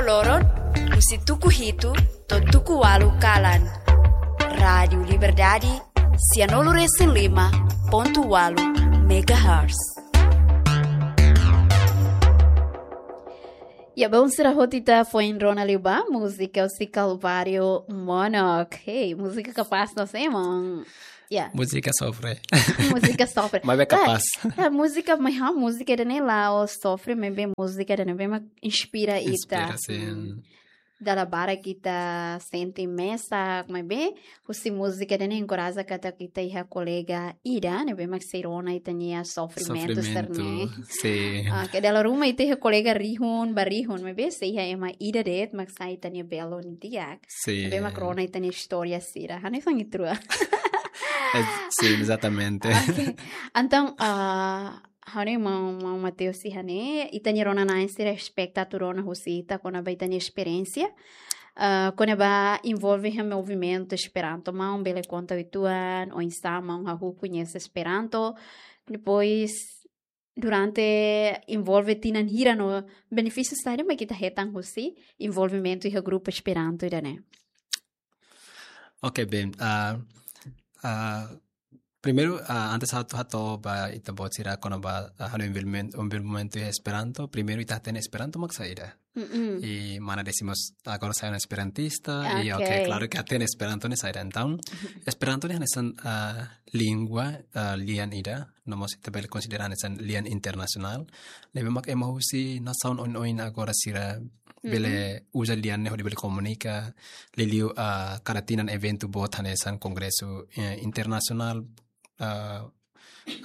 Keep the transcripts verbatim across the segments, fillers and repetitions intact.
Loron, husi tuku hitu to'o tuku ualu kalan. Rádiu Liberdade, sianulu resin lima pontu ualu megahertz. Ya, bom, sira hotu ita foin rona liu ba múzika husi Kalvário Monok. Hey, múzika kapás, não sei, mano. Ya. Múzika sofre. Múzika sofre. Maibé kapás. Ah, ah, múzika, mas ah, múzika ida-ne'e la'ós sofre, maibé múzika ida-ne'ebé mak inspira ita. Inspira, sin. Hmm. Dala barak ita sente mesak, maibé husi múzika ida-ne'e enkoraja katak ita iha kolega ida ne'ebé mak sei rona ita-nia sofrimentu. Sofrimentu sira-ne'e. Sin. Ah, ke dala ruma ita iha kolega rihun, ba rihun, maibé sei iha ema ida de'it mak sai ita-nia belun di'ak. Sin. Ne'ebé mak rona ita-nia istória sira. Hanesan ne'e trua. Eh, sin, exatamente. Oke. Entaun, ah, ha'u-nia maun, maun Mateus, iha ne'e, ita-nia rona-na'in sira espera atu rona husi ita kona-ba ita-nia esperiénsia. Ah, kona-ba envolve iha movimentu Esperanto, maun bele konta uitoan, oinsá maun hahú koñese Esperanto. Depois, durante envolve tinan hira no benefísiu saida mak ita hetan husi envolvimentu iha grupu Esperanto ida-ne'e. Oke, bem. Ah, ah, primeiru, ah, antes ha'u hato'o ba ita-boot sira kona-ba, ah, ha'u-nia envolvimen-, envolvimentu iha Esperanto. Primeiru ita hatene Esperanto mak saida. Mm-mm. I mana desi mós agora sai ona esperantista. I, oke, oke, klaru ke hatene Esperanto ne'e saida. Entaun, Esperanto ne'e hanesan, ah, língua, ah, lian ida, no mós ita bele konsidera hanesan lian internasionál. Ne'ebé mak ema husi nasaun oin-oin agora sira bele, mhm, uza lian ne'e hodi bele komunika. Liuliu, ah, kada tinan eventu boot hanesan kongresu, eh, internasionál, ah,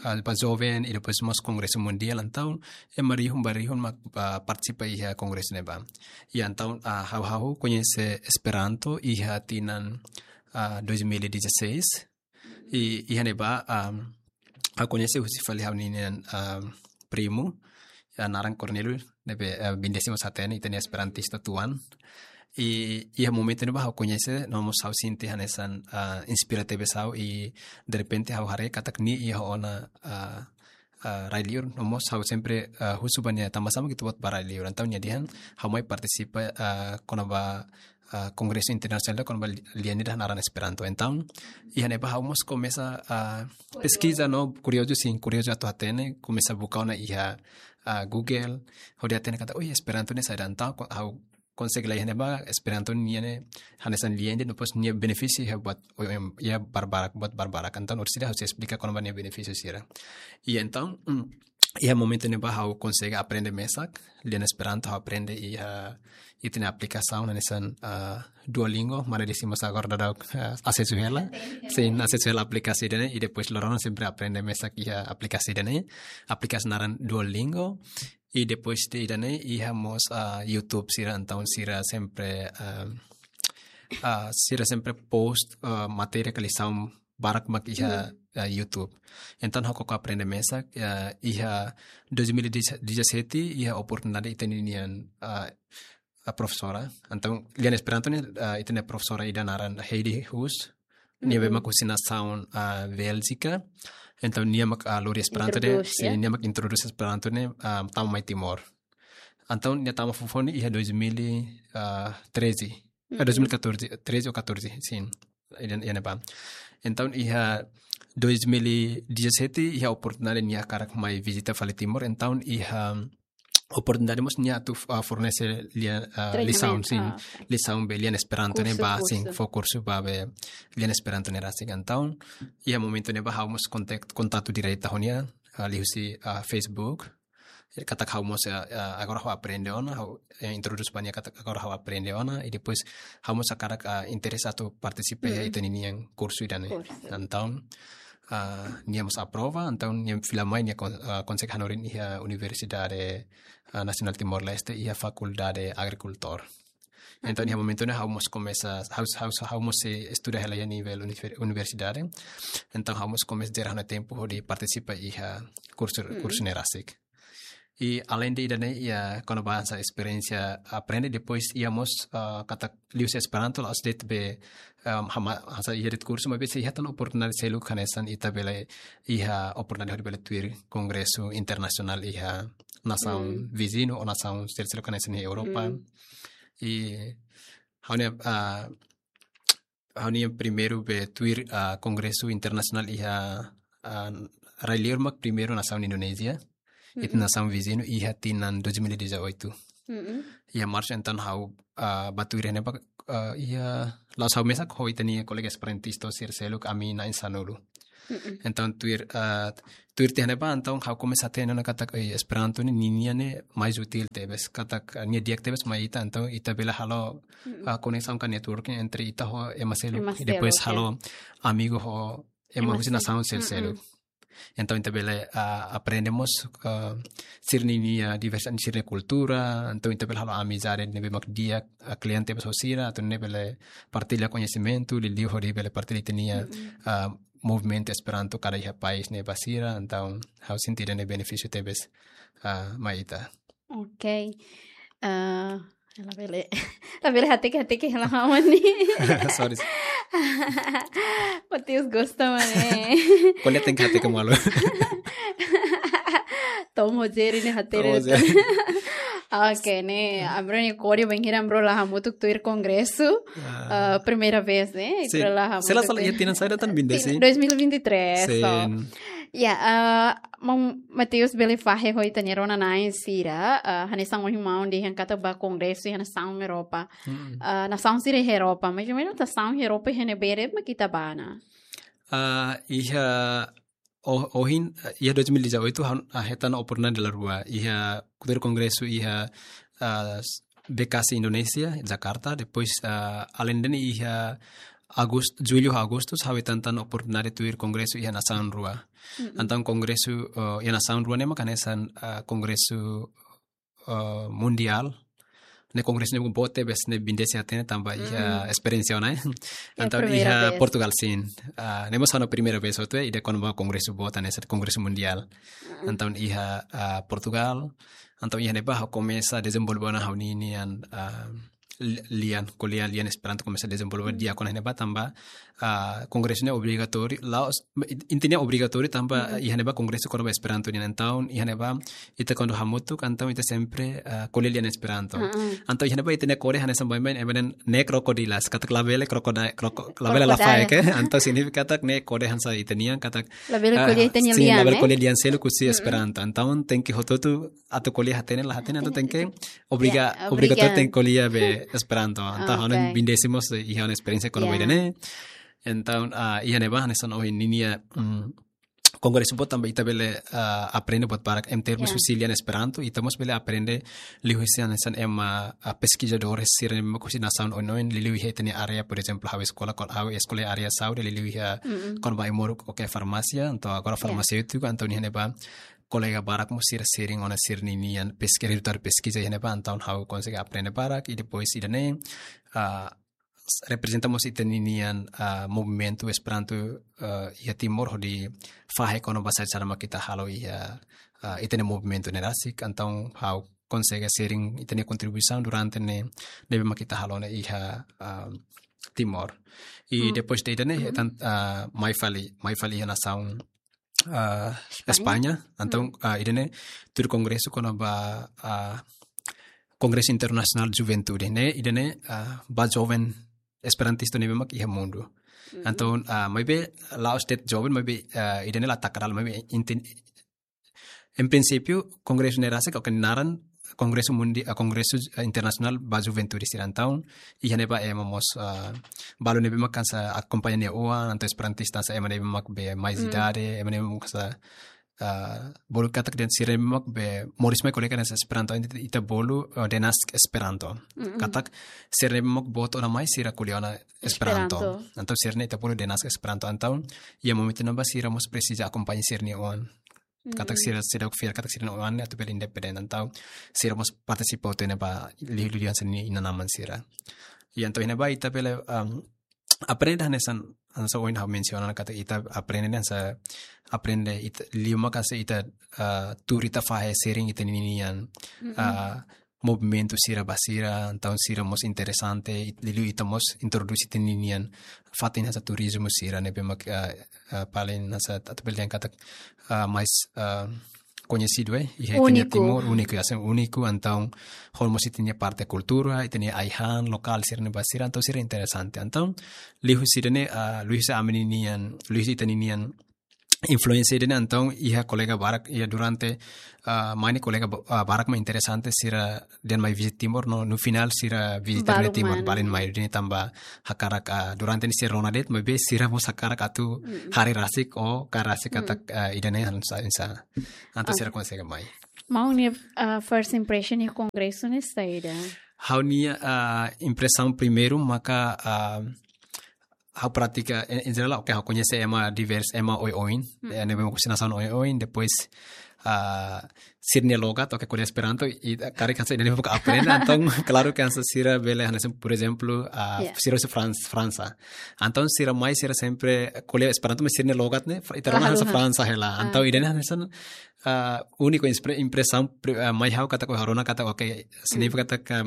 ah, ba joven, i depois mós kongresu mundiál, entaun ema rihun ba rihun mak, ah, partisipa iha kongresu ne'ebá. I entaun, ah, ha'u, ha'u koñese Esperanto iha tinan, ah, dois mil e dezasseis. I, iha ne'ebá, um, ha'u koñese husi fali ha'u-nian, um, primu, ah, naran Cornelio, ne'ebé, ah, bindesi mós hatene, ita-nia esperantista tuan. I, iha momentu ne'ebá ha'u koñese, no mós ha'u sente hanesan, ah, inspira tebes ha'u, i derrepente ha'u haree katak nia iha ona, ah, ah, rai-liur, no mós ha'u sempre, ah, husu ba nia tanbasá mak ita-boot ba rai-liur. Entaun nia dehan, ha'u mai partisipa, ah, kona-ba, ah, kongresu internasionál kona-ba li-, lian ida naran Esperanto. Entaun, iha ne'ebá ha'u mós komesa, ah, peskiza no kuriozu, sin, kuriozu atu hatene, komesa buka ona iha, ah, Google, hodi hatene katak, "Oh, Esperanto ne'e saida?" Entaun, ko-, ha'u konsege la iha ne'ebá, Esperanto nian ne'e hanesan lian ida, no mós nia benefísiu iha buat, o, em, iha barbarak, buat barbarak. Entaun, orsida ha'u sei esplika kona-ba nia benefísiu sira. I entaun, mm, iha momentu ne'ebá ha'u konsege aprende mesak lian Esperanto, ha'u aprende iha, ita-nia aplikasaun hanesan, ah, Duolingo, mana desi mós agora daudaun, ah, asesu hela. Sin, asesu hela aplikasi ida-ne'e, i depois loron sempre aprende mesak iha aplikasi ida-ne'e. Aplikasi naran Duolingo. I depois de ida-ne'e iha mós, ah, YouTube sira, entaun sira sempre, ah, ah, sira sempre post, ah, matéria ka lisaun barak mak iha, hmm, ah, YouTube. Entaun ha'u koko aprende mesak, ah, iha dois mil e dezassete iha oportunidade ita-nian, ah, ah, profesora. Entaun lian Esperanto ne'e, ah, ita-nia profesora ida naran Heidi Huus. Nia, mm-mm, be mak husi nasaun, ah, Bélgika. Entaun nia mak, ah, lori Esperanto ne'e, introdús, sin, ya, nia mak introdús Esperanto ne'e, ah, tama mai Timor. Entaun nia tama foufoun ne'e iha dois mil e treze. Ah, mm-mm, dois mil e catorze, treze ou catorze, sin. Iha, iha ne'ebá. Entaun iha dois mil e dezassete iha oportunidade nia hakarak mai vizita fali Timor. Entaun iha oportunidade mós nia atu, ah, fornese lian, ah, treinamentu, lisaun, sin, ah, lisaun be lian Esperanto ne'e, kursu, ba, sin, kursu, fó kursu ba be lian Esperanto ne'e rasik. Entaun iha momentu ne'ebá ha'u mós kontak-, kontaktu direta ho nia, ah, liuhusi, ah, Facebook. Katak ha'u mós, ah, ah, agora ha'u aprende ona, ha'u, eh, introdús ba nia katak agora ha'u aprende ona, i depois ha'u mós hakarak, ah, interese atu partisipa iha, mm, ita-nian kursu ida-ne'e. Kursu. Entaun, ah, nia mós aprova, entaun nia fila mai nia kon-, ah, konsege hanorin iha Universidade, ah, Nasionál Timor-Leste, iha Fakuldade Agrikultór. Entaun, mhm, iha momentu ne'e ha'u mós komesa, ha'u, ha'u, ha'u mós sei estuda hela iha nivel univer-, universidade. Entaun, ha'u mós komesa jere ha'u-nia tempu hodi partisipa iha kursu, mm, kursu ne'e rasik. I além de ida-ne'e, iha kona-ba hanesan esperiénsia aprende, depois iha mós, ah, katak liuhusi Esperanto, la'ós de'it be, ah, hama-, hanesan iha de'it kursu, maibé sei iha tan oportunidade seluk hanesan ita bele iha oportunidade hodi bele tuir kongresu internasionál iha nasaun, mm, viziñu ou nasaun seluk hanesan iha Europa. Mm. I ha'u-nia, ah, ha'u-nia primeiru be tuir, ah, kongresu internasionál iha, ah, rai-liur mak primeiru nasaun Indonézia. Ita nasaun viziñu iha tinan dois mil e dezoito. Iha Marsu entaun ha'u, ah, bá tuir iha ne'ebá, ah, iha la'ós ha'u mesak, ho ita-nia kolega esperantista sira seluk ami na'in sanulu. Entaun tuir, ah, tuir tiha ne'ebá, entaun ha'u komesa hatene ona katak, eh, Esperanto ne'e ninia ne'e mais útil tebes, katak, ah, nia di'ak tebes mai ita, entaun ita bele halo, ah, koneksaun ka networking entre ita ho ema seluk. Ema seluk, depois ya. Halo amigu ho ema husi nasaun sel-, seluk. Entaun ita bele, ah, aprende mós, ah, sira-nia diversidade, sira-nia kultura, entaun ita bele halo amizade ne'ebé mak di'ak, ah, kle'an tebes ho sira, atu nune'e bele partilla koñesimentu, liuliu hodi bele partilla ita-nia, ah, movimentu Esperanto kada iha país ne'e ba sira, entaun ha'u sente ida-ne'e benefísiu tebes, ah, mai ita. Ok. Ah, labele, labele hateke, hateke hela hawan ni. Sorry. Mateus gosta, mane. Ko'alia tenke hateke malu. Tom ho Jerry ne'e hateke. Tom ho Jerry. Ok, ne'e, ami-nia ko'alia bainhira ami la hamutuk tuir kongresu. Ah. Ah, primeira vez, ne'e? Sin. Ami la hamutuk. Sela, sela, iha tinan saida tan, vinte e cinco? Dois mil e vinte e três, so. Sin. Ya, ah, maun Mateus bele fahe ho ita-nia rona-na'in sira, ah, hanesan ohin maun dehan katak bá kongresu iha nasaun Europa. Ah, nasaun sira iha Europa, mais ou menus nasaun Europa iha ne'ebé mak ita bá ona? Ah, iha o-, ohin, ah, iha dois mil e dezoito, han-, ah, hetan oportunidade dala rua. Iha tuir kongresu iha, ah, s-, B K C Indonézia, Jakarta, depois, ah, alende ne'e iha Agust-, Jullu, Agostu, ha'u hetan tan oportunidade tuir kongresu iha nasaun rua. Entaun kongresu, eh, iha nasaun rua ne'e mak hanesan, eh, kongresu, eh, mundiál. Ne'e kongresu ne'e boot tebes, ne'e bindesi hatene tanba iha esperiénsia ona. Entaun primeira vez. Iha Portugal, sin. Ah, ne'e mós ha'u-nia primeira vez hotu, ida kona-ba kongresu boot hanesan kongresu mundiál. Entaun iha, ah, Portugal. Entaun iha ne'ebá ha'u komesa dezenvolve ona ha'u-nian, ah, li-, lian, ko'alia lian Esperanto komesa dezenvolve di'ak ona iha ne'ebá tanba, ah, kongresu ne'e obrigatóriu, la'ós, intinya obrigatóriu tanba iha ne'ebá kongresu kona-ba Esperanto nian, entaun iha ne'ebá ita kuandu hamutuk, entaun ita sempre, ah, ko'alia lian Esperanto. Entaun iha ne'ebá ita-nia kode hanesan baibain, ema dehan ne'e krokodilas, katak labele krokodai-, kroko-, labele lafaek, eh? Entaun signifika katak ne'e kode hanesan ita-nian, katak, labele, ah, ko'alia ita-nia lian, labele, eh? Ko'alia lian seluk husi Esperanto. Entaun tenke hotu-hotu atu ko'alia hatene la hatene, entaun tenke obriga-, ya, obriga-, obrigatóriu tenke ko'alia be Esperanto. Entaun ha'u-nia bindesi mós iha ha'u-nia esperiénsia kona-ba ida-ne'e. Entaun, ah, iha ne'ebá hanesan ohin ninia, mm, kongresu boot tanba ita bele, ah, aprende buat barak em termos husi lian Esperanto, ita mós bele aprende liuhusi hanesan ema, ah, peskizadores sira ne'ebé mak husi nasaun oin-oin, liuliu iha ita-nia área, por ezemplu, ha'u eskola, kona-, ha'u eskola iha área saúde, liuliu iha kona-ba ai-moruk, oke, farmásia, entaun agora farmaseutiku, entaun iha ne'ebá kolega barak mós sira sharing ona sira-nian peski-, rezultadu peskiza iha ne'ebá, entaun ha'u konsege aprende barak, i depois ida-ne'e, ah, s-, reprezenta mós ita-nian, ah, movimentu Esperanto, ah, iha Timor hodi fahe kona-ba saida-saida mak ita halo iha, ah, ita-nia movimentu ne'e rasik, entaun ha'u konsege sharing ita-nia kontribuisaun durante ne'e, ne'ebé mak ita halo ne'e iha, ah, Timor. I depois de ida-ne'e, hetan, ah, mai fali, mai fali iha nasaun, ah, España. España. Entaun, ah, ida-ne'e tuir kongresu kona-ba, ah, Kongresu Internasionál Juventude ne'e, ida-ne'e, ah, ba joven esperantista ne'ebé mak iha mundu. Entaun, ah, maibé la'ós de'it joven, maibé, ah, ida-ne'e la taka dala, maibé inti-, em princípio, kongresu ne'e rasik, oke, naran Kongresu Mundi-, ah, Kongresu, ah, Internasionál ba Juventude sira, entaun iha ne'ebá ema mós, ah, balu ne'ebé mak hanesan akompaña nia oan, entaun esperantista hanesan ema ne'ebé mak be mais idade, ema ne'ebé mak hanesan, ah, bolu katak dehan sira ne'ebé mak be moris mai ko'alia hanesan Esperanto, entaun ita bolu, ah, denask Esperanto. Katak sira ne'ebé mak boot ona mai sira ko'alia ona Esperanto. Esperanto. Entaun sira-ne'e ita bolu denask Esperanto, entaun iha momentu ne'ebá sira mós presiza akompaña sira-nia oan. Katak sira, sira fiar katak sira-nia oan ne'e atu bele independente, entaun sira mós partisipa hotu iha ne'ebá, liuliu hanesan nia inan-aman sira. I entaun iha ne'ebá ita bele, um, aprende hanesan, hanesan ohin ha'u mensiona katak ita aprende hanesan, aprende ita, liu mak hanesan ita, uh, tuur ita fahe sharing ita-nian, uh, movimentu sira ba sira, entaun sira mós interesante, i-, liuliu ita mós introdús ita-nian fatin hanesan turizmu sira ne'ebé mak, ah, ah, paling hanesan atu bele dehan katak, ah, mais, ah, koñesidu, eh, iha ita-nia Úniku. Timor, úniku, ya, hanesan úniku, entaun, ho mós ita-nia parte kultura, ita-nia ai-han lokál sira-ne'e ba sira, entaun sira interesante. Entaun, liuhusi ida-ne'e, ah, liuhusi ami-nian, liuhusi ita-nian influénsia ida-ne'e, entaun, iha kolega barak, iha durante, ah, mai ne'e kolega ba-, ah, barak mak interesante sira dehan mai vizita Timor, no, no finál sira vizita Balu Timor, mai. Balun mai ida-ne'e tanba hakarak, ah, durante ne'e sira rona de'it, maibé sira mós hakarak atu Mm-mm. haree rasik ou kaer rasik Mm. katak, ah, ida-ne'e hanesan, hanesan. Entaun Ah. sira konsege mai. Maun nia, ah, first impression iha kongresu ne'e saida? Ha'u-nia, ah, impresaun primeiru maka, ah, ha'u pratika, en, en jerál, oke, ha'u koñese ema divers, ema oioin, Mm. eh, ne'ebé mak husi nasaun oioin, depois, ah, sira-nia logat, oke, ko'alia Esperanto, i, i, karik hanesan ida-ne'e buka aprende, entaun, klaru ke hanesan sira bele, hanesan, por ezemplu, ah, Yeah. sira husi Frans-, Fransa. Entaun, sira mai, sira sempre ko'alia Esperanto, mas sira-nia logat ne'e, fra-, ita rona Ah, hanesan haluha. Fransa hela. Ah, Entaun, oke. ida-ne'e hanesan, ah, úniku inspre-, impresaun pri-, ah, mai ha'u katak, ha'u rona katak, oke, signifika katak, ah,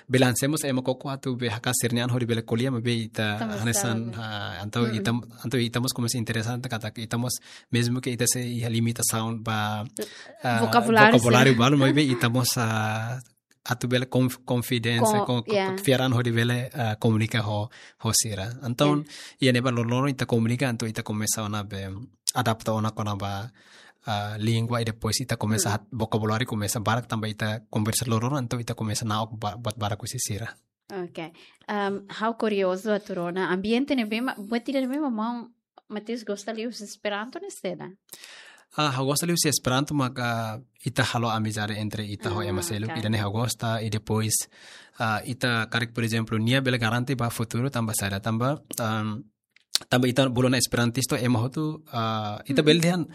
bele hanesan mós ema koko atu bele hakarak sira-nia an hodi bele ko'alia, maibé ita Ita mós hanesan, sabe. ah, entaun Mm-mm. ita, entaun ita mós komesa interesante katak ita mós, mezmu ke ita sei iha limitasaun ba, ah, Vokabuláriu, vokabuláriu sim. balu, maibé ita mós, ah, atu bele konf-, konfidénsia, Ko-, kon-, kon-, yeah. fiar an hodi bele, ah, komunika ho, ho sira. Entaun, Yeah. iha ne'ebá loroloron ita komunika, entaun ita komesa ona be adapta ona kona-ba, ah, língua, i depois ita komesa Mm. hat-, vokabuláriu komesa barak tanba ita konversa loroloron, entaun ita komesa na'ok ba-, buat barak husi sira. Oke. Am, ha'u kuriozu atu rona ambiente ne'ebé mak, buat ida ne'ebé mak maun Mateus gosta liu husi Esperanto ne'e saida? Ah, ha'u gosta liu husi Esperanto maka ita halo amizade entre ita ho ema Ah, seluk, oke. ida-ne'e ha'u gosta, i depois, ah, ita karik, por ezemplu, nia bele garante ba futuru tanba saida, tanba, am, tanba ita bolu ona esperantistu ema hotu, ah, ita Mm. bele dehan,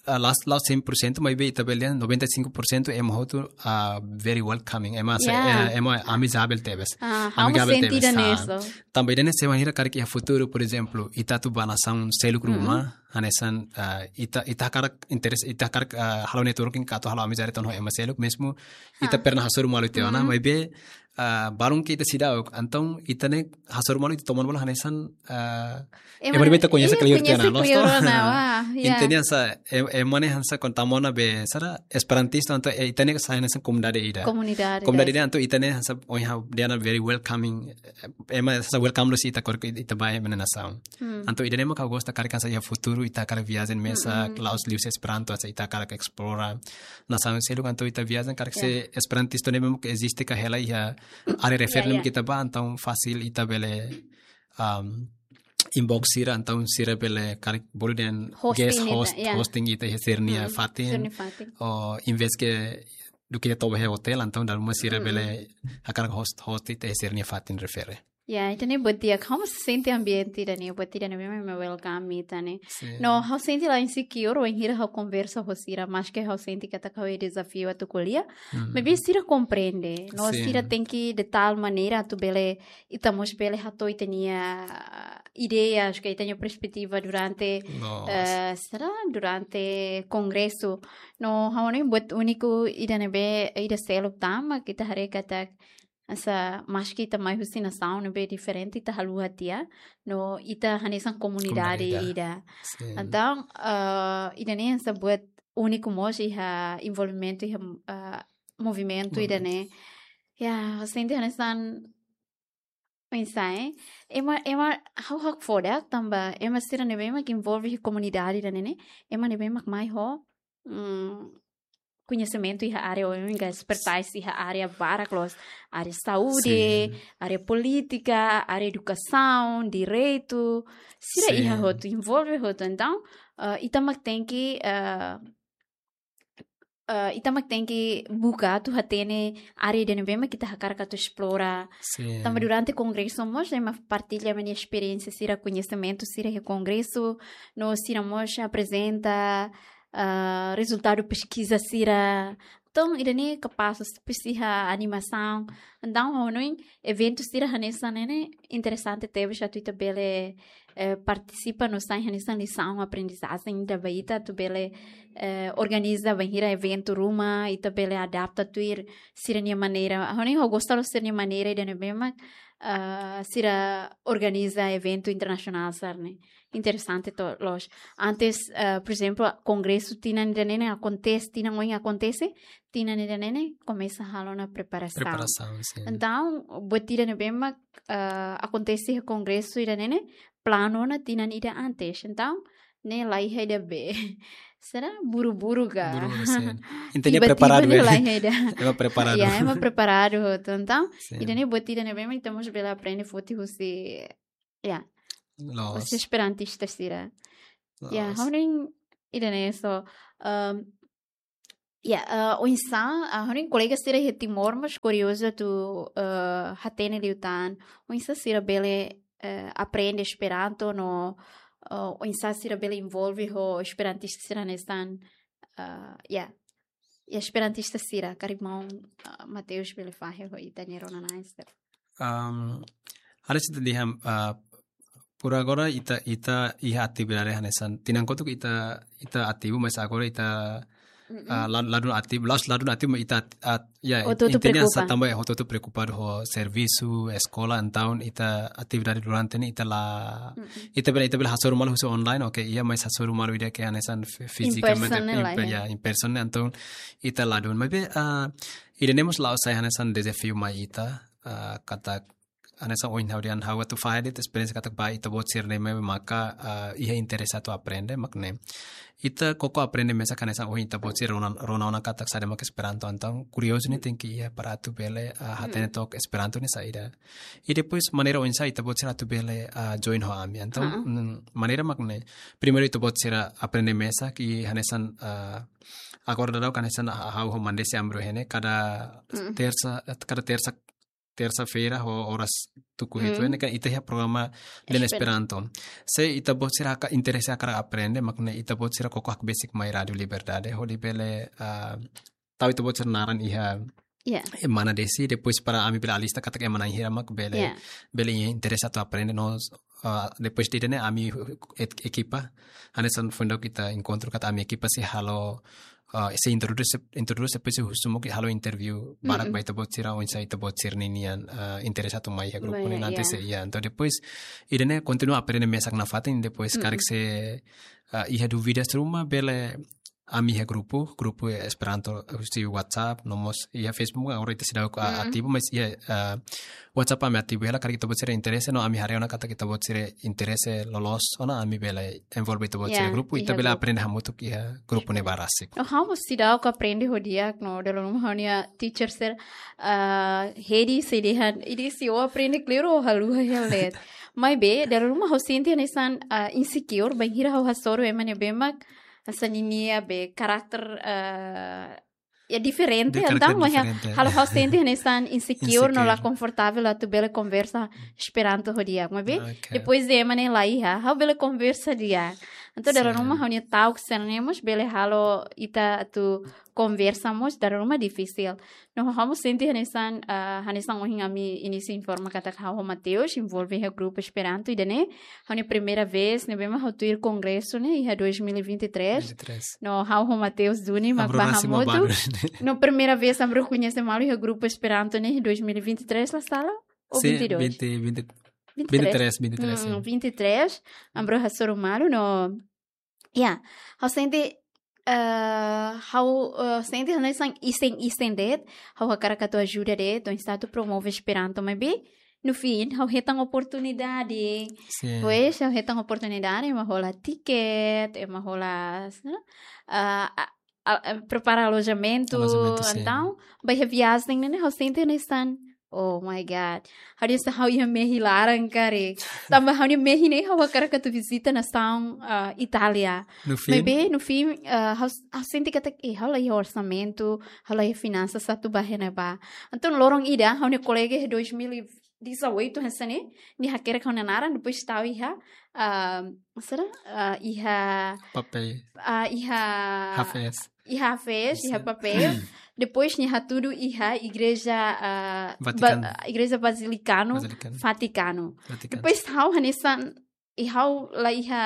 ah, la'ós, la'ós cem por cento, maibé ita bele dehan noventa e cinco por cento ema hotu, ah, very welcoming, ema se-, Yeah. eh, ema amigável tebes. Ah, ha'u mós Amigável sente tebes, ida-ne'e ah. so. Tanba ida-ne'e se wainhira karik iha futuru, por ezemplu, ita atu ba nasaun seluk Mm-mm. ruma, hanesan, ah, ita, ita hakarak interes, ita hakarak, ah, halo networking ka atu halo amizade tan ho ema seluk, mezmu ita Ah. pernah hasoru malu tiha ona, Mm-mm. maibé, ah, balun ke ita seidauk, entaun ita ne'e hasoru malu ita toman bola hanesan, ah, Ema ema ne'ebé ita koñese, iya, kleur tiha ona, koñese loos kleur to? ona, wah, iya. Entaun hanesan, em-, ema ne'e hanesan kon tama ona be, sara, esperantistu, entaun, eh, ita ne'e hanesan komunidade ida. Komunidade Komunidade ida. ida, entaun ita ne'e hanesan, ohin ha'u dehan very welcoming, eh, ema hanesan welcome loos ita kor-, ita ba ema nia nasaun. Hmm. Entaun ida-ne'e mak ha'u gosta karik hanesan iha futuru, ita karik viajen mesak, Mm-mm. la'ós liuhusi Esperanto, hanesan ita karik esplora nasaun seluk, entaun ita viajen karik Ya. se esperantistu ne'ebé mak eziste ka hela iha área refere Ya, ne'ebé ya. ita ba, entaun fasil ita bele, um, inbox sira, entaun sira bele karik bolu dehan Hosting guest ita, host, ya. hosting ita iha sira-nia Mm-mm. fatin. Sira-nia fatin. Ou invés ke duké toba iha hotel, entaun dala ruma sira Mm-mm. bele hakarak host, host ita iha sira-nia fatin refere. Ya, ida-ne'e buat di'ak, ha'u mós sente ambiente ida-ne'e, buat ida-ne'e memang welcome ita ne'e. Sin. No, ha'u sente la insecure, wainhira ha'u konversa ho sira, maske ha'u sente katak ha'u iha dezafiu atu ko'alia. Mm. Maibé sira komprende, no Sin. sira tenke de tal maneira atu bele, ita mós bele hato'o ita-nia ideias, ka ita-nia perspetiva durante, Loos. eh, sira durante kongresu. No, ha'u hanoin buat úniku ida ne'ebé, ida seluk tama, ita haree katak, hanesan, maske ita mai husi nasaun ne'ebé diferente, ita haluha tiha, no ita hanesan komunidade Komunidade. ida. Sin. Entaun, eh, ida-ne'e hanesan buat úniku mós iha envolvimentu iha, eh, movimentu Movimentu. ida-ne'e. Ya, sente hanesan, oinsá, eh? Ema, ema, ha'u hakfodak tanba, ema sira ne'ebé mak envolve iha komunidade ida-ne'e ne'e, ema ne'ebé mak mai ho, mm, koñesimentu iha área, ou ka expertise iha área barak loos, área saúde, Sin. área polítika, área edukasaun, direitu, sira Sin. iha hotu, envolve hotu. Entaun, eh, ita mak tenke, eh, eh, ita mak tenke buka atu hatene área ida ne'ebé mak ita hakarak atu esplora. Sin. Tanba durante kongresu mós, ema partilla ema nia esperiénsia sira, koñesimentu sira iha kongresu, no sira mós aprezenta, ah, rezultadu peskiza sira. Entaun, ida-ne'e kapás, presiza animasaun. Entaun, ha'u hanoin eventu sira hanesan ne'e ne'e interesante tebes atu ita bele, eh, partisipa no sai hanesan lisaun, aprendizajen ida ba ita atu bele, eh, organiza bainhira eventu ruma, ita bele adapta tuir sira-nia maneira. Ha'u hanoin ha'u gosta loos sira-nia maneira ida ne'ebé mak, ah, sira organiza eventu internasionál sira-ne'e. Interesante to loos. Antes, ah, por ezemplu, kongresu tinan ida-ne'e ne'e akontese, tinan oin akontese, tinan ida-ne'e ne'e komesa halo ona preparasaun. Preparasaun, sin. Entaun, buat ida ne'ebé mak, ah, akontese iha kongresu ida-ne'e ne'e, planu ona tinan ida antes. Entaun, ne'e la iha ida be. Sira buru-buru ka? Buru-buru, sin. Intinya tiba-tiba preparadu ne'e be. La iha ida. Ema preparadu. Ya, ema preparadu. Entaun, sin, ida-ne'e buat ida ne'ebé mak ita mós bele aprende foti husi, ya, loos, husi esperantista sira. Ya, loos. Ha'u hanoin ida-ne'e so, um, ya, eh, oinsá, ah, ha'u hanoin kolega sira iha Timor mós kuriozu atu, eh, hatene liután oinsá sira bele, eh, aprende Esperanto no, eh, oinsá sira bele envolve ho esperantista sira hanesan, eh, ya, ya esperantista sira, karik maun, eh, Mateus bele fahe ho ita-nia rona-na'in sira. Um, harus ita dehan, ah, por agora ita, ita iha atividade hanesan, tinan kotuk ita, ita ativu, mas agora ita, mm-mm, ah, la-, ladún ativu, la'ós ladún ativu, mas ita at-, at-, ya, hotu-hotu intinya preokupa. Sa tambah ya, hotu-hotu preokupadu ho servisu, eskola, entaun ita atividade durante ne'e ita la, mm-mm, ita bele, ita bele hasoru malu husi online, oke, ya, mas hasoru malu ida ke hanesan fi-, in person fizikamente, ne'e in la, pe-, ya, ya, in person ne'e, entaun ita ladún. Maibé, ah, ida-ne'e mós la'ós sai hanesan dezafiu mai ita, ah, katak hanesan ohin ha'u dehan ha'u atu fahe de'it esperiénsia katak ba ita-boot sira-ne'e maka, ah, iha interese atu aprende, mak ne'e. Ita koko aprende mesak hanesan ohin ita-boot sira rona, rona ona katak saida mak Esperanto, entaun kuriozu ne'e tenke iha para atu bele, ah, hatene, hmm, took Esperanto ne'e saida. I depois maneira oinsá ita-boot sira atu bele, ah, join ho ami. Entaun, ah, mm, maneira mak ne'e. Primeiru ita-boot sira aprende mesak i hanesan, ah, agora daudaun hanesan, ah, ha'u ho Mandesi Amro iha ne'e, kada, mm, tersa, kada tersa tersa-feira, ho oras tuku hitu, hmm, ne'e kan ita iha programa Lena Esper- Esperanto. Se ita-boot sira hakarak interese hakarak aprende, mak ne'e ita-boot sira koko hakbesik mai Rádio Liberdade, hodi bele, ah, tau ita-boot sira naran iha, ya, ema-nia desi, depois para ami bele alista katak ema na'in hira mak bele, ya, bele iha interese atu aprende, no, ah, depois de ne'e ami et-, ekipa, hanesan foin daudauk ita enkontru katak ami ekipa sei halo, ah, sei introdús, introdús depois sei husu mós halo interview barak, mm-mm, ba ita-boot sira oinsá ita-boot sira-nian, ah, interese atu mai iha grupu, mai, ne'e nanti, ya, sei, ya. Entaun depois ida-ne'e kontinua aprende mesak nafatin, depois, mm-mm, karik se, ah, iha dúvidas ruma bele ami iha grupu, grupu Esperanto husi WhatsApp, no mós iha Facebook, agora ita seidauk, ah, mm, ativu, mas iha, ah, WhatsApp ami ativu hela, karik ita-boot sira interese, no ami haree ona katak ita-boot sira interese loloos ona, ami bele envolve ita-boot sira, ya, grupu, ita, iha, bele grupu, aprende hamutuk iha grupu ne'e ba rasik. No, ha'u mós seidauk aprende ho di'ak, no, dala ruma ha'u-nia teacher sira, ah, Hedi sei dehan, Hedi sei, ó aprende kleur ó haluha hela de'it. Maibé, dala ruma ha'u sente hanesan, ah, insecure, bainhira ha'u hasoru ema ne'ebé mak hanesan ninia be karakter, ah, ya diferente, de karakter, entaun, mas ya, diferente, halo ha'u sente hanesan insecure, no la, insecure, konfortavel atu bele konversa Esperanto ho di'ak. Maibé, oke, depois de ema ne'e la iha, ha'u bele konversa di'ak. Entaun, dala, sin, ruma ha'u-nia talk sira-ne'e mós bele halo ita atu konversa mós, dala ruma difisil. No, ha'u mós sente hanesan, ah, hanesan ohin ami inísiu informa katak ha'u ho Mateus envolve iha grupu Esperanto ida-ne'e, ha'u-nia primeira vez ne'ebé mak ha'u tuir kongresu ne'e iha dois mil e vinte e três. Vinte e três. No, ha'u ho Mateus duni mak, amro, ba rasik mak hamutuk, baru. No, primeira vez amro koñese malu iha grupu Esperanto ne'e iha dois mil e vinte e três, la sala? Ou, sin, vinte e dois? Vinte, vinte, vinte e três. Vinte e três, vinte e três, hmm, sin. Vinte e três, amro hasoru malu, no, ya, ha'u sente, eh, ha'u, eh, sente hanesan isen-isen de'it, ha'u hakarak atu ajuda de'it, oinsá atu promove Esperanto, maibé, no fim, ha'u hetan oportunidade. Sin. Pois, ha'u hetan oportunidade, ema hola tiket, ema hola, ah, ah, ah, ah, prepara alojamentu, alojamentu, sin. Entaun, ba iha viajen ne'e, ha'u sente hanesan, oh my God. Ha'u dehan ha'u iha mehi laran karik. Tanba ha'u-nia mehi ne'e ha'u hakarak atu vizita nasaun, ah, Itália. No fim? Maibé, no fim, ah, ha'u, ha'u sente katak, eh, ha'u la iha orsamentu, ha'u la iha finansas atu bá iha ne'ebá. Entaun, loron ida, ha'u-nia kolega iha dois mil e dezoito hanesan ne'e, nia hakerek ha'u-nia naran, depois tau iha, ah, saida, ah, iha, papéis, ah, iha, hafes, iha hafes, iha, sin, papéis. Depois nia hatudu iha igreja, ah, Vatikanu. Ba-, igreja Bazilikanu, Bazilikanu. Vatikanu. Vatikanu. Depois ha'u hanesan, i ha'u la iha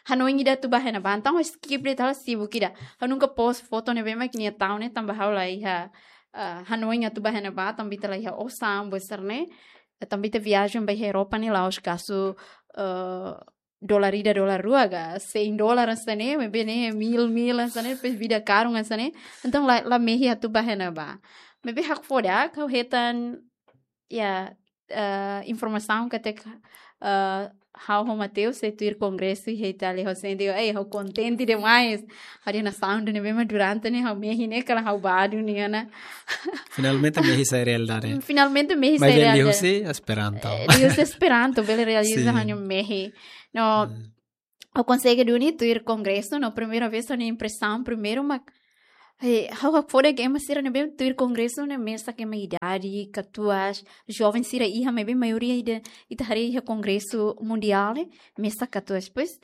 hanoin ida atu bá iha ne'ebá, entaun ha'u skip de'it, ha'u sibuk ida. Ha'u nunka post foto ne'ebé mak nia tau ne'e, tanba ha'u la iha, ah, hanoin atu bá iha ne'ebá, tanba ita la iha osan, buat sira-ne'e. tanba ita viajen ba Europa ne'e la'ós gastu, eh, dolar ida, dolar rua, ka sein dolar hanesan ne'e, maibé ne'e mil, mil hanesan ne'e, depois vida karun hanesan ne'e. Entaun la, la mehi atu bá iha ne'ebá. Maibé hakfodak, ha'u hetan, ya, eh, informasaun katak, eh, ha'u ho Mateus sei tuir kongresu iha Itália, ha'u sente, ei, ha'u kontente demais. Ha'u dehan nasaun ida ne'ebé mak durante ne'e ha'u mehi ne'e, kala ha'u bá duni ona. Finalmente mehi sai realidade. Finalmente mehi sai realidade. Maibé liuhusi Esperanto. Eh, liuhusi Esperanto, bele realiza, sin, ha'u-nia mehi. No, ha'u konsege duni tuir kongresu, no primeira vez ha'u-nia impresaun, primeiru mak, eh, ha'u hakfodak ema sira ne'ebé tuir kongresu ne'e mesak ema idade, katuas, joven sira iha, maibé maioria ida, ita haree iha kongresu mundiál ne'e, mesak katuas, pois,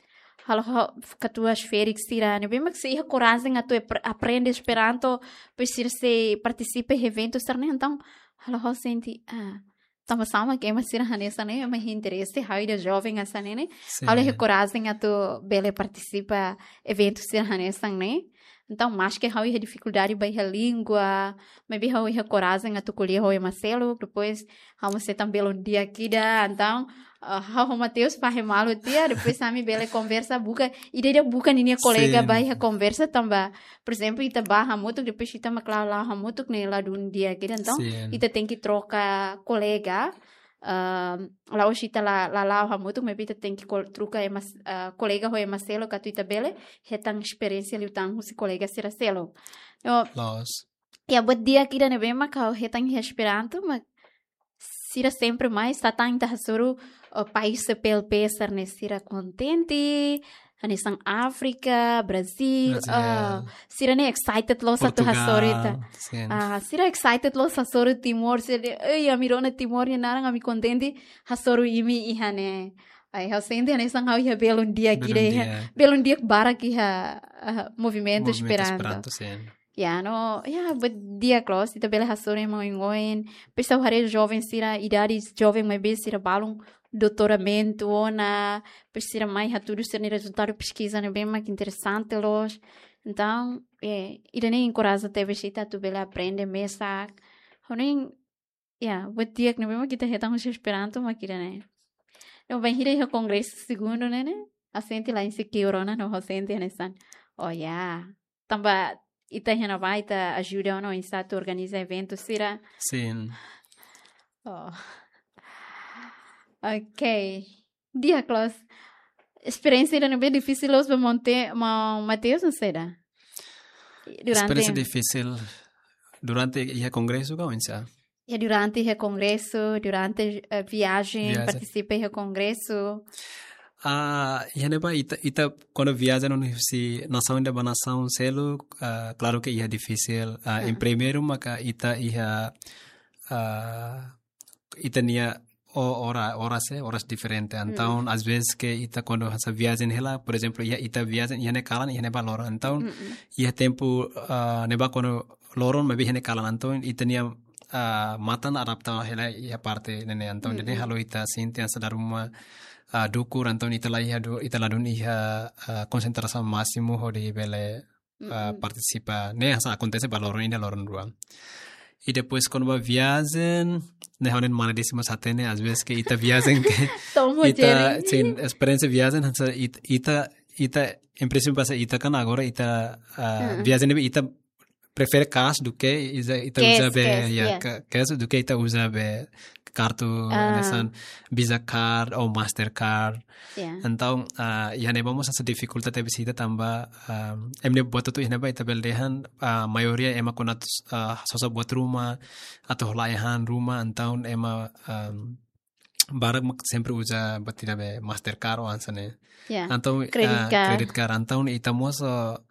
halo ha'u katuas ferik sira ne'ebé mak sei iha korajen atu epr-, aprende Esperanto, pois sira sei partisipa iha eventu sira-ne'e, entaun, halo ha'u sente, ah, tanba sá mak ema sira hanesan ne'e, ema interese, ha'u ida joven hanesan ne'e, ne'e. Sin. Ha'u la iha korajen atu bele partisipa eventu sira hanesan ne'e. Entaun, maske ha'u iha difikuldade ba iha língua, maibé ha'u iha korajen atu ko'alia ho ema seluk, depois ha'u mós hetan belun di'ak ida. Entaun, ah, ha'u ho Mateus fahe malu tiha, depois ami bele konversa, buka, ida-ida buka ninia kolega, sin, ba iha konversa tanba, por ezemplu, ita bá hamutuk, depois ita mak la'o, la'o hamutuk ne'e ladún di'ak ida. Entaun, sin, ita tenke troka kolega, ah, la'ós ita la, la la'o hamutuk, maibé ita tenke kol-, troka ema s-, ah, kolega ho ema seluk atu ita bele hetan esperiénsia liután husi kolega sira seluk. No, loos. Ya, buat di'ak ida ne'ebé mak ha'u hetan iha Esperanto, mak sira sempre mai, sá tan ita hasoru, ah, país C P L P sira-ne'e sira kontente, hanesan Áfrika, Brazil, Brazil, ah, sira-ne'e excited loos atu hasoru ita. Portugal, sin. Ah, sira excited loos hasoru Timor, sira dehan, "Ei, ami rona Timor nia naran, ami kontente hasoru imi iha ne'e." Ai, ha'u sente hanesan ha'u iha belun di'ak ida iha. Belun di'ak. Belun di'ak barak iha, ah, movimentu Esperanto. Movimentu Esperanto, sin. Ya, no, ya, buat di'ak loos, ita bele hasoru ema oin-oin. Depois ha'u haree joven sira, idade joven maibé sira balun doutoramentu ona, depois sira mai hatudu sira-nia rezultadu peskiza ne'ebé mak interesante loos. Entaun, eh, ida-ne'e enkoraja tebes ita atu bele aprende mesak. Ha'u-nia, ya, buat di'ak ne'ebé mak ita hetan husi Esperanto mak ida-ne'e. No, bainhira iha kongresu segundu ne'e, ne'e, ha'u sente la insecure ona, no, ha'u sente hanesan, oh ya, tanba ita iha ne'ebá, ita ajuda ona oinsá atu organiza eventu sira. Sin. Oh. Ok. Di'ak loos. Esperiénsia ida ne'ebé difisil loos ba Monte, Ma-, Mateus, no saida? Durante... Esperiénsia difisil durante iha kongresu ka oinsá? Ya, durante iha kongresu, durante, eh, viajen, viajen, partisipa iha kongresu. Ah, iha ne'ebá ita, ita kuandu viajen husi nasaun ida ba nasaun seluk, ah, klaru ke iha difisil. Ah, en, ah, primeiru maka ita iha, ah, ita-nia o-, ora-, oras, eh, oras diferente. Entaun, mm, às vezes ke ita kuandu hanesan viajen hela, por ezemplu, iha ita viajen, iha ne'e kalan, iha ne'ebá loron. Entaun, mm, mm, iha tempu, ah, ne'ebá kuandu loron, maibé iha ne'e kalan. Entaun, ita-nia, ah, matan adapta hela iha parte ne'e. Entaun, mm, ne'e, mm, halo ita sente hanesan dala ruma, ah, dukur, entaun ita la iha du-, ita ladún iha, ah, konsentrasaun másimu hodi bele, ah, mm, mm, partisipa. Ne'e hanesan akontese ba loron ida, loron rua. I depois kuandu ba viajen, ne'e ha'u-nia mana desi mós hatene, às vezes ke ita viajen ke tomo ita, jeri, sin, esperiénsia viajen, hanesan it-, ita, ita, en prinsípiu, hanesan ita kan agora ita, ah, mm, viajen ne'ebé ita prefere cash duké ita, ita uza, cash, be, cash, ya, ya, ca-, cash duké ita uza be kartu, ah, hanesan Visa card ou Mastercard. Ya. Entaun, ah, iha ne'ebá mós hanesan difikulta tebes ita tanba, ah, ema nia buat hotu iha ne'ebá ita bele dehan, ah, maioria ema kuandu atu, ah, sosa buat ruma, atu hola ai-han ruma, entaun ema, ah, barak mak sempre uza buat ida be Mastercard ou hanesan ne'e. Ya. Entaun, credit, ah, card. Credit card. Entaun ita mós, ah,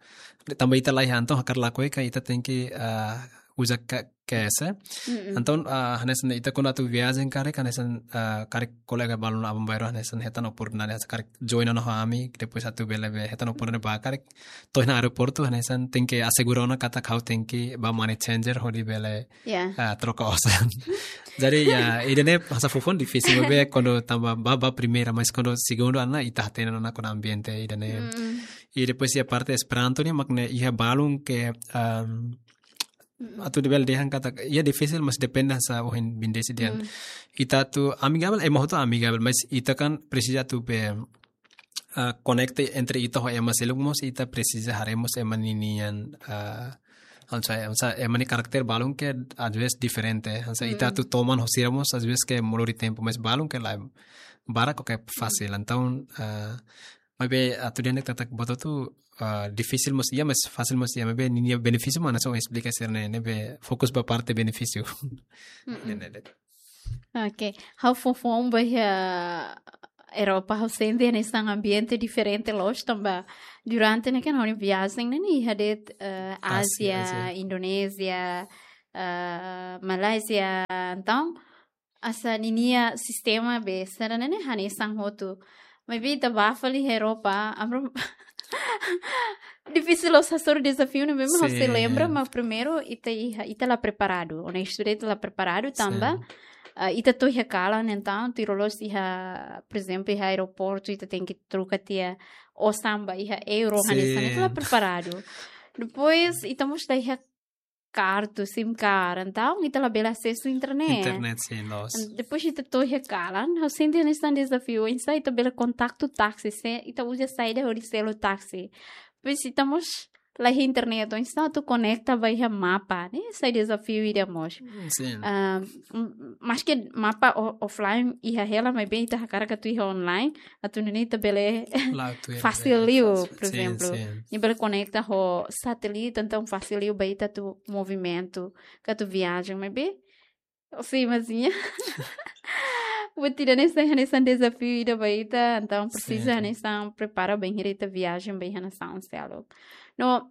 tanba ita la iha, entaun hakarak lakohi ka ita tenke, ah, uza ka-, cash, eh. Mm-mm. Entaun, ah, hanesan ita kuandu atu viajen karik, hanesan, ah, karik kolega balun aban-bainrua hanesan hetan oportunidade, hanesan karik join ona ho ami, depois atu bele be hetan oportunidade ba karik to'o iha aeroportu, hanesan tenke asegura ona katak ha'u tenke ba money changer hodi bele, ya, ah, troka osan. Jadi, ya, ida-ne'e hanesan foufoun difisil, maibé kuandu tanba ba, ba primeira, mas kuandu segundu ona ita hatene ona kona-ba ambiente ida-ne'e. Mm. I depois iha parte Esperanto ne'e, mak ne'e iha balun ke, ehm, atu bele dehan katak, iha difisil, mas depende hanesan ohin Bindesi dehan. Ita atu amigável, ema hotu amigável, mas ita kan presiza atu be, ah, konekta entre ita ho ema seluk mós, ita presiza haree mós ema ninian, ah, hanesan, hanesan ema nia karakter balun ke às vezes diferente. Hanesan ita atu toman ho sira mós às vezes ke molori tempu, mas balun ke la barak ke fasil. Entaun, ah, maibé atu dehan katak buat hotu, ah, difisil mós iha, mas fasil mós iha, maibé ninia benefísiu mak hanesan esplika sira-ne'e, ne'ebé fokus ba parte benefísiu. Ne'e de'it. Ok. Ha'u foufoun ba iha Europa, ha'u sente hanesan ambiente diferente loos tanba durante ne'e kan ha'u-nia viajen ne'e iha de'it, eh, Ázia, Ázia, Indonézia, eh, Malázia. Entaun, hanesan ninia sistema be sira-ne'e hanesan hotu. Maibé ita bá fali Europa, amro difisil loos hasoru dezafiu ne'ebé mak ha'u sei lembra, mas primeiru ita iha, ita la preparadu. Onestu de'it, ita la preparadu tanba, ah, ita to'o iha kalan, entaun tuir loloos iha, por ezemplu, iha aeroportu, ita tenke troka tiha osan ba iha euro, hanesan ita la preparadu. Depois, ita mós la iha kartu, sim card, entaun ita labele asesu internet. Internet, sin, loos. Depois ita to'o iha kalan, ha'u sente hanesan dezafiu, oinsá ita bele kontaktu táksi, se ita uza saida hodi selu táksi. Depois ita mós la iha internet, oinsá atu konekta ba iha mapa, ne'e sai dezafiu ida mós. Sin. Ah, m-, maske mapa o-, offline iha hela, maibé ita hakarak atu iha online, atu nune'e ita bele fasil liu, por ezemplu. Ita bele konekta ho satélite, entaun fasil liu ba ita atu movimentu, ka atu viajen, maibé, sin, mas iha. Buat ida-ne'e sai hanesan dezafiu ida ba ita, entaun presiza hanesan prepara bainhira ita viajen ba iha nasaun seluk. No,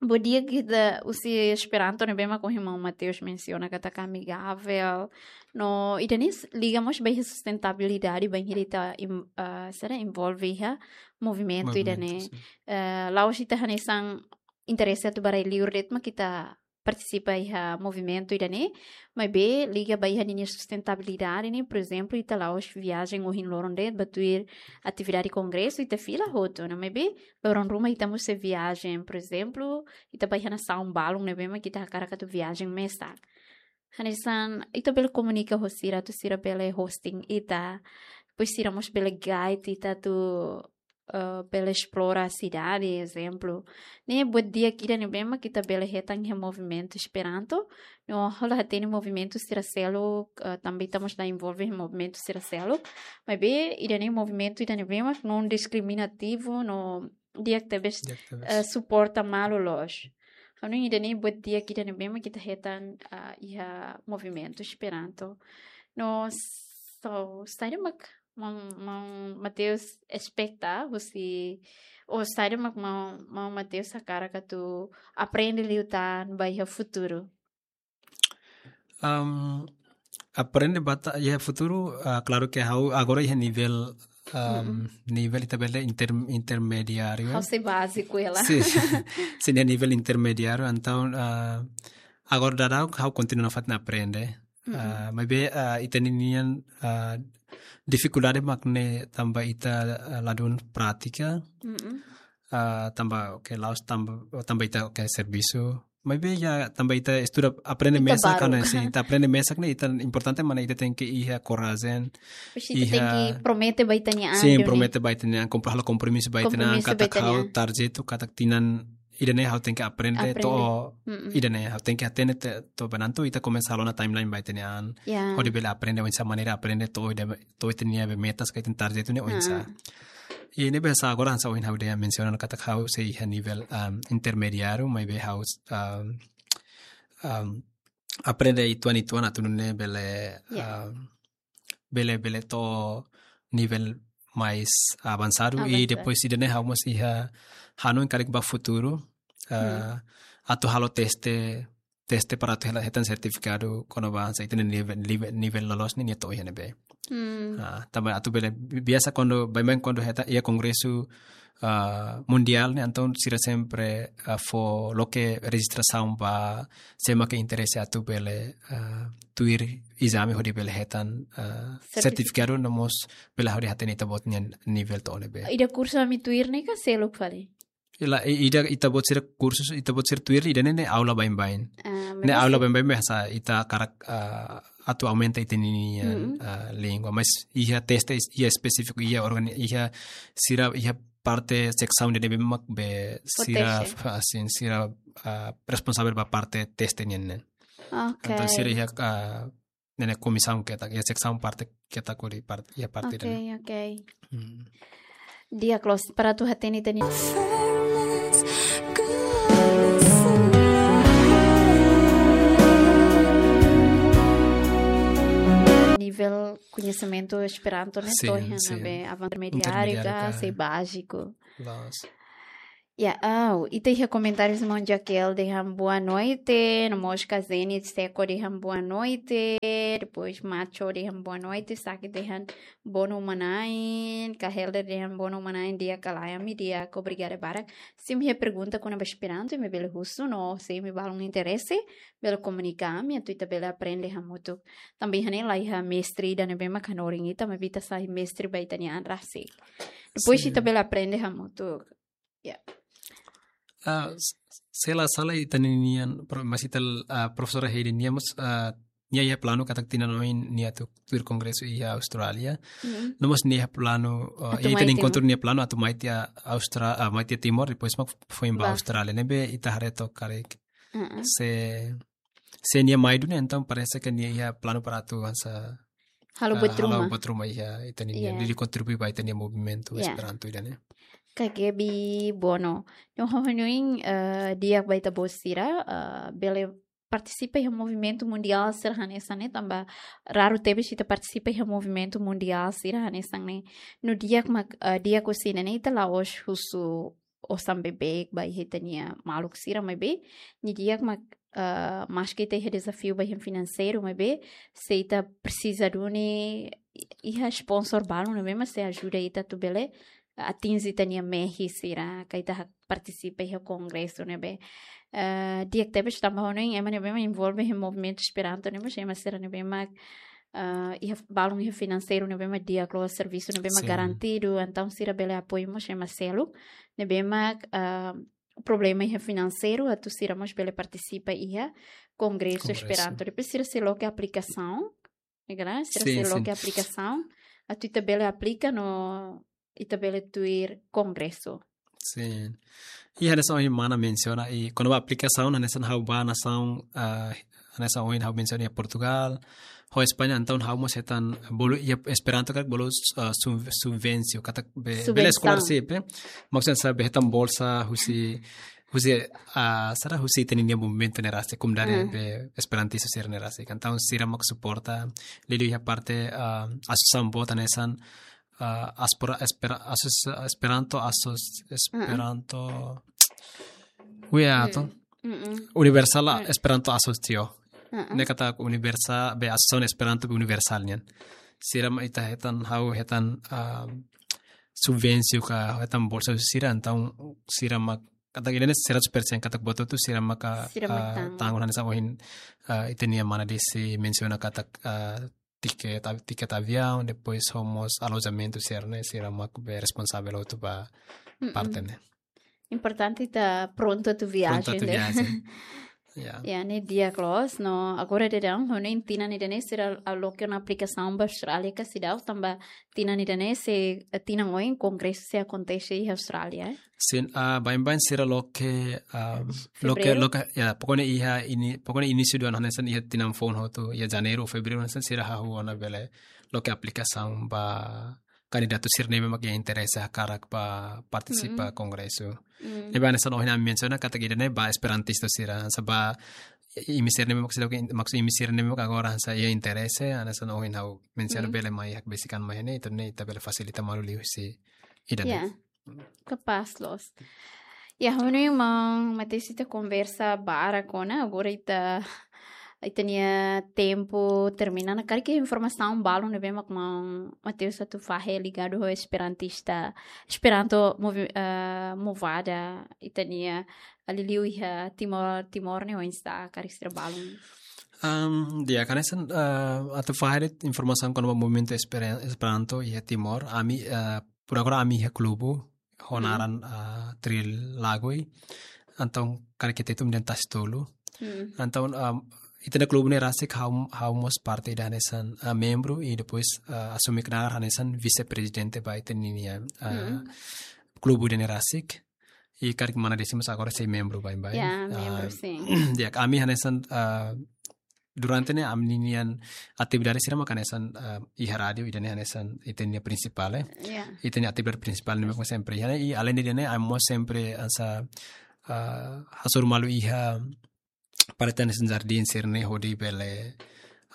buat di'ak ita husi Esperanto ne'ebé mak ohin maun Mateus mensiona katak amigável. No, ida-ne'e liga mós ba iha sustentabilidade bainhira ita in-, ah, sira envolve iha movimentu ida-ne'e. Eh, la'ós ita hanesan interese atu ba rai-liur de'it mak ita partisipa iha movimentu ida-ne'e, maibé liga ba iha ninia sustentabilidade ne'e, por ezemplu, ita la'ós viajen ohin loron de'it ba tuir atividade kongresu, ita fila hotu ona, maibé loron ruma ita mós sei viajen, por ezemplu, ita ba iha nasaun balun ne'ebé mak ita hakarak atu viajen mesak. Hanesan ita bele komunika ho sira atu sira bele hosting ita, depois sira mós bele guide ita atu, eh, bele esplora sidade, ezemplu. Ne'e buat di'ak ida ne'ebé mak ita bele hetan iha movimentu Esperanto. No, ha'u la hatene movimentu sira seluk, eh, tanba ita mós la envolve iha movimentu sira seluk. Maibé ida-ne'e movimentu ida ne'ebé mak non diskriminativu, no di'ak tebes, eh, suporta malu loos. Ha'u hanoin ida-ne'e buat di'ak ida ne'ebé mak ita hetan, ah, iha movimentu Esperanto. No, so, saida mak maun, maun Mateus espeta husi, ou saida mak maun, maun Mateus hakarak atu aprende liután ba iha futuru? Am, aprende ba ta-, iha futuru, ah, klaru ke ha'u agora iha nivel, am, nivel ita bele inter-, intermediáriu. Ha'u sei báziku hela. Sin, sin, iha nivel intermediáriu, entaun, ah, agora daudaun ha'u kontinua nafatin aprende. Ah, maibé, ah, ita ninian, ah, difikuldade mak ne'e tanba ita, ah, ladún prátika. Ah, tanba, oke, la'ós tanba, tanba ita, oke, servisu. Maibé iha tanba ita estuda, aprende mesak, karena sin, ita aprende mesak ne'e, ita importante mak ne'e ita tenke iha korajen. Depois ita tenke promete ba ita-nia an, sin, promete ba ita-nia an, kompro-, halo kompromisu ba ita-nia an, kompromisu ba ita-nia an, katak ha'u tarjetu, katak tinan ida-ne'e ha'u tenke aprende to'o, ida-ne'e ha'u tenke hatene te-, to'o ba ne'e entaun ita komesa halo ona timeline ba ita-nia an. Ya. Hodi bele aprende oinsá maneira aprende to'o ida, to'o ita-nia be metas ka ita-nia tarjetu ne'e oinsá. Ah. I ne'ebé hanesan agora hanesan ohin ha'u dehan mensiona katak ha'u sei iha nivel, am, intermediáriu, maibé ha'u, am, am, aprende uitoan-uitoan atu nune'e bele, am, bele, bele to'o nivel mais avansadu. Avansadu. I depois ida-ne'e ha'u mós iha hanoin karik ba futuru, ah, atu halo teste, teste para atu hela hetan sertifikadu kona-ba hanesan ita-nia nivel, nivel, nivel loloos ne'e nia to'o iha ne'ebé. Hmm. Ah, tanba atu bele bi-, biasa kuandu, baibain kuandu hetan iha kongresu, ah, mundiál ne'e, entaun sira sempre, ah, fó loke rejistrasaun ba sé mak interese atu bele, ah, tuir ezame hodi bele hetan, ah, sertifikadu no mós bele hodi hatene ita-boot nia nivel to'o ne'ebé. Ida kursu ami tuir ne'e ka seluk fali? Ida, i- ida ita-boot sira kursu, ita-boot sira tuir, ida-ne'e ne'e aula baibain. Ah, ne'e maibé aula se- baibain, maibé hanesan ita hakarak, ah, atu aumenta ita-nia, Mm-mm. ah, língua. Mas iha teste, iha espesífiku, iha organi-, iha sira, iha parte seksaun ida ne'ebé mak be sira, Konteste. ah, sin, sira, ah, responsavel ba parte teste nian ne'e. Ok. Entaun sira iha, ah, ne'e ne'e komisaun ketak, iha seksaun parte ketak hodi part-, iha parte Ok, ida-ne'e. Ok. Hmm. Di'ak loos, para atu hatene ita-nia nivel koñesimentu Esperanto ne'e Sin, to'o iha sin. Ne'ebé avançadu, intermediáriu Intermediáriu ka, ka. Se báziku. Loos. Ya, ah, ita iha komentáriu, irmaun Jaquel dehan boa noite, no mós Kazeni Seco dehan boa noite, depois Macho dehan boa noite, Saki dehan boa noite, mana Ain, Kahelder dehan boa noite, mana Ain, di'ak ka lae, ami di'ak, obrigada barak. Se imi iha pergunta kona-ba Esperanto, imi bele husu, no se imi balun interese, bele komunika ami, atu ita bele aprende hamutuk. Tanba iha ne'e la iha mestre ida ne'ebé mak hanorin ita, maibé ita sai mestre ba ita-nia an rasik. Depois Sin. Ita bele aprende hamutuk. Ya. Ah, s-, se la sala ita-nia nian, pro-, mas ita, ah, profesora Heidi nian mós, ah, nia iha planu katak tinan oin nia atu tuir kongresu iha Austrália. Mm. No mós nia iha planu, ah, Atu iha mai ita-nia Timor. Enkontru nia planu atu mai tiha Austra-, ah, mai tiha Timor, depois mak foin ba Ba. Austrália. Ne'ebé ita haree took karik. Mm-mm. Se, se nia mai duni, entaun parese ke nia iha planu para atu hanesan, Halo ah, buat halo ruma. Buat ruma iha ita-nia, Ya. Hodi kontribui ba ita-nia movimentu Ya. Esperanto ida-ne'e. Ka Gaby Bono. No ha'u hanoin, eh, di'ak ba ita-boot sira, eh, bele partisipa iha movimentu mundiál sira hanesan ne'e, tanba raru tebes ita partisipa iha movimentu mundiál sira hanesan ne'e. No di'ak mak, eh, di'ak husi ne'e ita la'ós husu osan beibeik ba iha ita-nia maluk sira maibé, nia di'ak mak, eh, maske ita iha dezafiu ba iha finanseiru maibé, se ita presiza duni i-, iha sponsor balun ne'ebé mak sei ajuda ita atu bele atinje ita-nia mehi sira, ka ita hak partisipa iha kongresu ne'ebé. Eh, di'ak tebes tanba ha'u hanoin ema ne'ebé mak envolve iha movimentu Esperanto ne'e mós ema sira ne'ebé mak, eh, iha balun iha finanseiru ne'ebé mak di'ak loos, servisu ne'ebé mak Sin. Garantidu, entaun sira bele apoiu mós ema seluk ne'ebé mak, eh, problema iha finanseiru, atu sira mós bele partisipa iha kongresu Kongresu. Esperanto. Depois sira sei loke aplikasaun, ne'e ka lae? Sira Sin, sei sin. Loke aplikasaun, atu ita bele aplika no ita bele tuir kongresu. Sin. I hanesan ohin mana mensiona, i kona-ba aplikasaun, hanesan ha'u ba nasaun, ah, hanesan ohin ha'u mensiona iha Portugal, ho España, entaun ha'u mós hetan bolu, iha Esperanto karik bolu, ah, sub-, subvensiu, katak be-, Subvensaun. Bele scholarship, eh? Maksudnya sa be hetan bolsa husi, husi, ah, sara husi ita-nia movimentu ne'e rasik, komunidade Hmm. be esperantista sira ne'e rasik. Entaun sira mak suporta, liuliu iha parte, ah, asosiasaun boot hanesan, ah, aspora-, espera-, asos-, Esperanto asos-, Esperanto, wea to? Mm-mm. Universal Mm. Esperanto Asocio. Mm-mm. Ne'e katak universal, be asosiasaun Esperanto be universal nian. Sira mak ita hetan, ha'u hetan, ah, subvensiu ka hetan bolsa sira, entaun sira mak, katak ida-ne'e seratus persen katak buat hotu sira maka, Sira mak ah, tanggung. Tanggung hanesan ohin, ah, ita-nia mana Desi mensiona katak, ah, tiket, av-, tiket aviaun, depois ho mós alojamentu sira ne'e, sira mak be responsavel hotu ba Mm-mm. Parte ne'e. Importante ita prontu atu viajen, Prontu atu ne'e? Viajen. Ya. Ya, ne'e di'ak loos, no agora daudaun, ha'u hanoin tinan ida-ne'e sira loke ona aplikasaun ba Austrália ka seidauk, tanba tinan ida-ne'e sei, eh, tinan oin kongresu sei akontese iha Austrália, eh? Sin, ah, baibain sira loke, ah, loke, Fevereiru? Loke, ya, pokoknya iha ini, pokoknya inísiu dua ribu enam belas hanesan iha tinan foun hotu, iha Janeiru ou Fevereiru hanesan sira hahú ona bele loke aplikasaun ba kandidatu sira ne'ebé mak iha interese hakarak ba partisipa Mm-mm. kongresu. Mm. Ne'ebé hanesan ohin ami mensiona katak ida-ne'e ba esperantista sira, hanesan ba imi sira ne'ebé mak seidauk, maksud imi sira ne'ebé mak agora hanesan iha interese, hanesan ohin ha'u mensiona Mm. bele mai hakbesik an mai ne'e, entaun ne'e ita bele fasilita malu liuhusi ida-ne'e. Ya. Kapás loos. Ya, ha'u hanoin maun Mateus ita konversa barak ona, agora ita, ita-nia tempu termina ona. Karik iha informasaun balun ne'ebé mak maun Mateus atu fahe ligadu ho esperantista, Esperanto movi-, eh, movada, ita-nia liuliu iha Timor, Timor ne'e oinsá, karik sira balun. Am, di'ak, hanesan, eh, atu fahe de'it informasaun kona-ba movimentu Esperen-, Esperanto iha Timor, ami, eh, por agora ami iha klubu, ho naran, ah, Trilagoi. Entaun karik ita tun dehan Tasi Tolu. Entaun, ah, ita-nia klubu ne'e rasik ha'u, ha'u mós parte ida hanesan, ah, membru i depois, ah, asume knaar hanesan vise-prezidente ba ita-nia, ah, klubu ida-ne'e rasik. I karik mana Desi mós agora sei membru baibain. Ya, membru, sin. Ya, ami hanesan, ah, durante ne'e ami-nian atividade sira maka hanesan, ah, iha rádiu, ida-ne'e hanesan ita-nia prinsipál, eh. Ya. Ita-nia atividade prinsipál ne'e maka sempre iha ne'e, i além de ne'e, ami mós sempre hanesan, ah, hasoru malu iha parte hanesan jardín sira-ne'e hodi bele,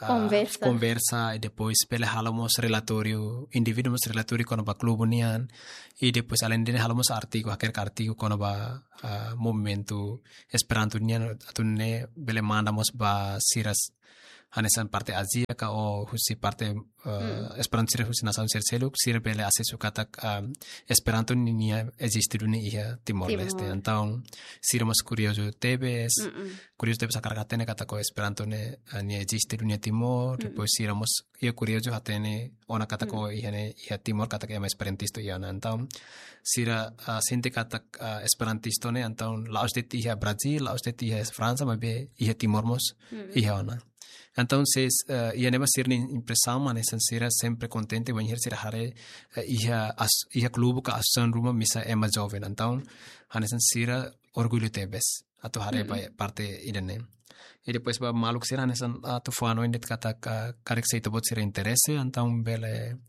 ah, konversa. Konversa, i depois bele halo mós relatóriu, indivíduu mós relatóriu kona-ba klubu nian, i depois além de ne'e halo mós artigu, hakerek artigu kona-ba, ah, movimentu Esperanto nian, atu nune'e bele manda mós ba sira hanesan parte Ázia ka ou husi parte, eh, Esperanto sira husi nasaun sira seluk, sira bele asesu katak, ah, Esperanto ni-, nia eziste duni iha Timor-Leste. Timor. Entaun, sira mós kuriozu tebes, kuriozu tebes hakarak hatene katak ho Esperanto ne'e, ah, nia eziste duni iha Timor, depois sira mós iha kuriozu hatene ona katak ho iha ne'e, iha Timor katak ema esperantistu iha ona. Entaun, sira, ah, sente katak, ah, esperantistu ne'e, entaun, la'ós de'it iha Brazil, la'ós de'it iha Fransa, maibé iha Timor mós iha ona. Entaun, se, eh, iha ne'ebá sira-nia impresaun, hanesan sira sempre kontente, bainhira sira haree, eh, iha as-, iha klubu ka asosiasaun ruma misa ema joven. Entaun, hanesan sira orgullu tebes atu haree ba parte ida-ne'e. I depois ba maluk sira hanesan atu fó hanoin de'it katak, ah, karik se ita-boot sira interese, entaun bele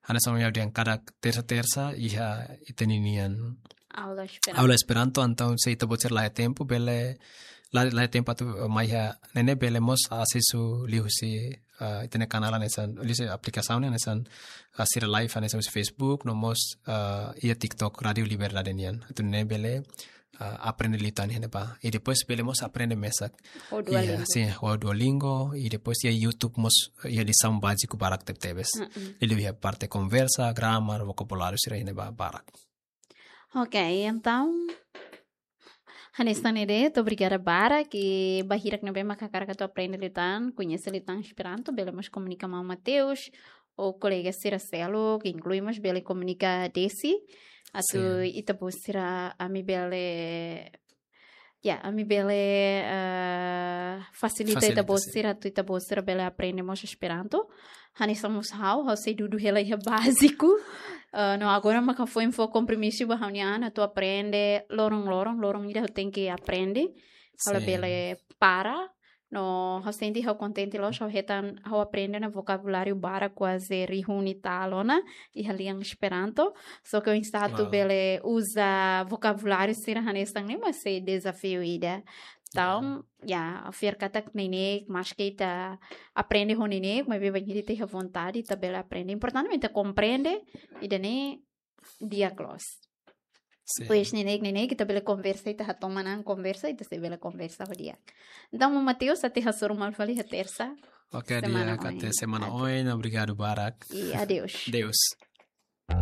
hanesan ohin ha'u dehan kada tersa-tersa iha ita-nia nian aula Esperanto. Aula Esperanto, entaun se ita-boot sira la iha tempu, bele la, la iha tempu atu, eh, mai iha ne'e, bele mós asesu liuhusi, ah, ita-nia kanál hanesan, liuhusi aplikasaun ne'e hanesan, ah, sira live hanesan husi Facebook, no mós, ah, iha TikTok Rádiu Liberdade nian. Atu nune'e bele, ah, aprende liután iha ne'ebá. I depois bele mós aprende mesak. Ho Duolingo. Iha, sin, ho Duolingo. I depois iha YouTube mós, iha lisaun báziku barak tebetebes. Liuliu iha parte konversa, grama, vokabuláriu sira iha ne'ebá barak. Ok, entaun, hanesan ne'e de'it, obrigada barak, i ba hirak ne'ebé maka hakarak atu aprende liután, koñese liután Esperanto, bele mós komunika maun Mateus, ou kolega sira seluk, inklui mós bele komunika Desi, atu ita-boot sira ami bele, ya, ami bele, eh, fasilita ita-boot sira, atu ita-boot sira bele aprende mós Esperanto. Hanesan mós ha'u, ha'u sei dudu hela iha báziku. Eh, no agora maka foin fó kompromisu ba ha'u-nia an atu aprende loron-loron, loron ida ha'u tenke aprende. Ha'u labele para. No ha'u sente ha'u kontente loos, ha'u hetan, ha'u aprende ona vokabuláriu barak kuaze rihun ida ona iha lian Esperanto. Só ke oinsá atu bele uza vokabuláriu sira hanesan ne'e, mas sei dezafiu ida. Entaun, ya, fiar katak neineik, maske ita aprende ho neineik, maibé bainhira ita iha vontade, ita bele aprende. Importante mak ita komprende, ida-ne'e di'ak loos. Sin. Depois neineik, neineik, ita bele konversa, ita hatoman an konversa, ita sei bele konversa ho di'ak. Entaun, maun Mateus, ita hasoru malu fali iha tersa. Ok, semana di'ak, oin. Até semana oin, obrigadu barak. I adeus. Adeus.